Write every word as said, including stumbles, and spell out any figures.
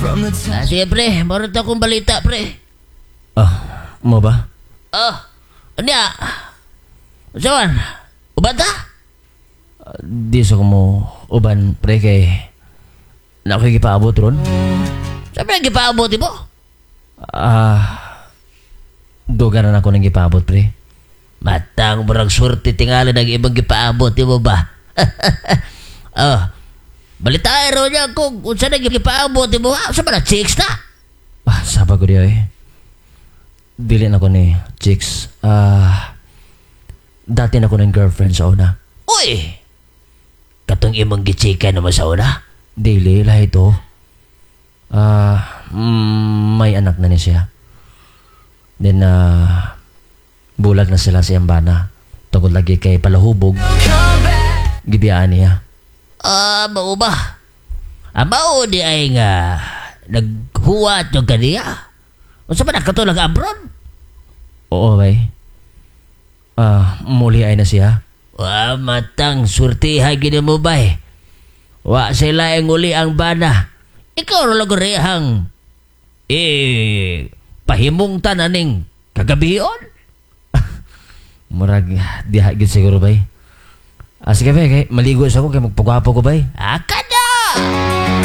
From the Ah, sige pre, meron akong balita pre. Ah, mao ba? Oh, unya. Unsa man? Uban ta? Ah, di sa ko mo uban pre kay naa ko'y gipaabot ron. Sabi ang gipaabot mo? Ah, duga na nako nang gipaabot pre. Matang murag swerte tingali ng ibang gipaabot mo ba? oh, balita raw niya kung unsa na gipaabot mo. Ah, unsa ba na chicks na? Ah, saba ko diay eh. Dili na ko ni chicks. Ah, dati na ko ng girlfriend sa una. Uy! Katong imong gichika naman sa una? Dili, lahi to. Ah, mm, may anak na ni siya. Then, ah, bulag na sila sa bana. Tungod lagi kay palahubog. Gibiyaan niya. Ah, mao ba? Ah, mao di ay nga naghuwat yung kaniya. Unsa ba na kato nag-abroad? Oo, bay. Ah, muli ay na siya. Wa matang surtiha gini mo bay. Wa sila ang uli ang bana. Ikaw ra lang rehang eh pahimong tananing kagabion. Murag diha gid siguro bay. Ah, sige bay, kay maligo sa ko kay magpagwapo ko bay. Ah, kada!